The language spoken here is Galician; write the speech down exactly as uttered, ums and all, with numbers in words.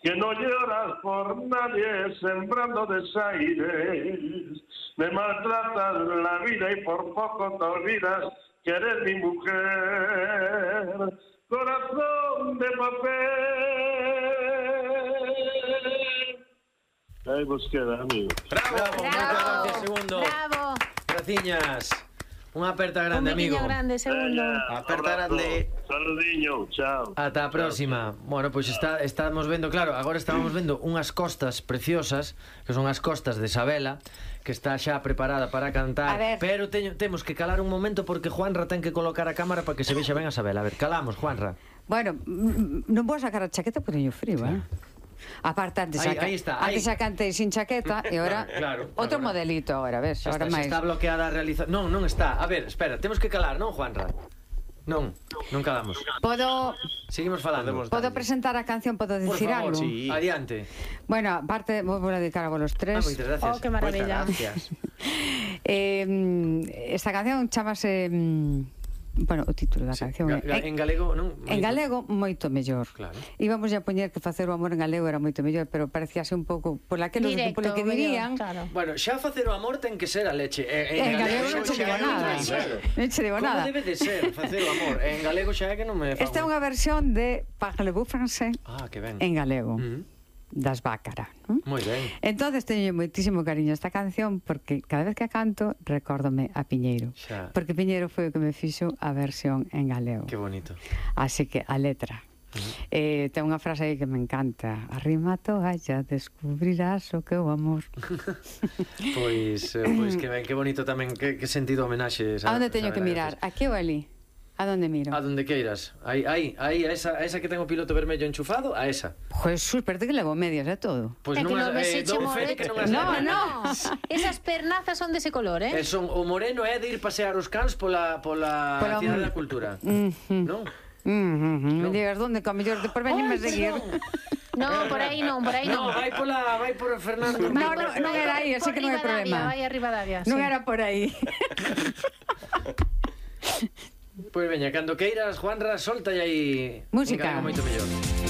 que no lloras por nadie sembrando desaires, me maltratas la vida y por poco te olvidas que eres mi mujer, corazón de papel. Ahí vos queda, amigo. Bravo, Bravo, moitas gracias, segundo. Bravo. Graciñas. Unha aperta grande, Un amigo. biquiño grande, segundo. Aperta grande. Saludiño, chao. Ata a próxima. Bueno, pois está, estamos vendo, claro, agora estábamos vendo unhas costas preciosas, que son as costas de Sabela, que está xa preparada para cantar, pero teño, temos que calar un momento porque Juanra ten que colocar a cámara para que se vexa ben a Sabela. A ver, calamos, Juanra. Bueno, non vou sacar a chaqueta porque teño frío, eh? Aparte, antes, Ahí- saca, ahí está, antes ahí. xa cantei sin chaqueta e ahora Claro, outro agora. modelito agora, ves? Xa Agora está, xa máis. está bloqueada a realización. Non, non está. A ver, espera, temos que calar, non, Juanra? Non, non calamos. Podo Seguimos falando. podo presentar a canción, podo Por dicir favor, algo? sí. Adiante. Bueno, aparte vou a dedicar a vos los Ah, tres. moitas gracias. Oh, que maravilla. Moitas gracias. eh, esta canción chamase mm, bueno, o título da Sí, canción ga- é ga- en galego, non? En galego, moito mellor. Claro. Íbamos a poñer que facer o amor en galego era moito mellor, pero parecíase un pouco por aquilo Directo, polo que dirían. mellor, claro. Bueno, xa facer o amor ten que ser a leche. En, En galego non xa che digo é nada. outra historia. Non che digo Como nada. debe de ser facer o amor? En galego xa é que non me fago. Esta é unha versión de Parlez-vous français Ah, que ben. en galego, Mm. das Bácara, non? Moi ben. Entonces teño moitísimo cariño a esta canción porque cada vez que a canto recórdome a Piñeiro. Xa. Porque Piñeiro foi o que me fixo a versión en galego. Que bonito. Así que a letra. Eh, ten unha frase aí que me encanta. Arrima a toalla, descubrirás o que é o amor. Pois, eh, pois que ben, que bonito tamén, que, que sentido homenaxe. A onde teño que mirar? Aquí ou ali? A donde miro? A donde queiras. Aí, aí, aí, a esa, a esa que ten o piloto vermello enchufado, a esa. Jesús, pero que levo medias de todo. Pois É que non non as, ves eh, eche dou fe de que non as No, leva. no. Esas pernazas son dese color, eh? E son, o moreno é de ir pasear os cans pola, pola, Pola- cidade da cultura. Mhm. Non? Mm, mm, mm. Me Non. digas donde, que a mellor de por veñenme a seguir. No, por aí non, por aí No, non. vai pola, vai por Fernando. No, no, non era aí, así Por que non hai Ribadavia, problema. vai a Ribadavia, Non sí. era por aí. Pois veña, cando queiras, Juanra, solta aí Música. un galego moito mellor.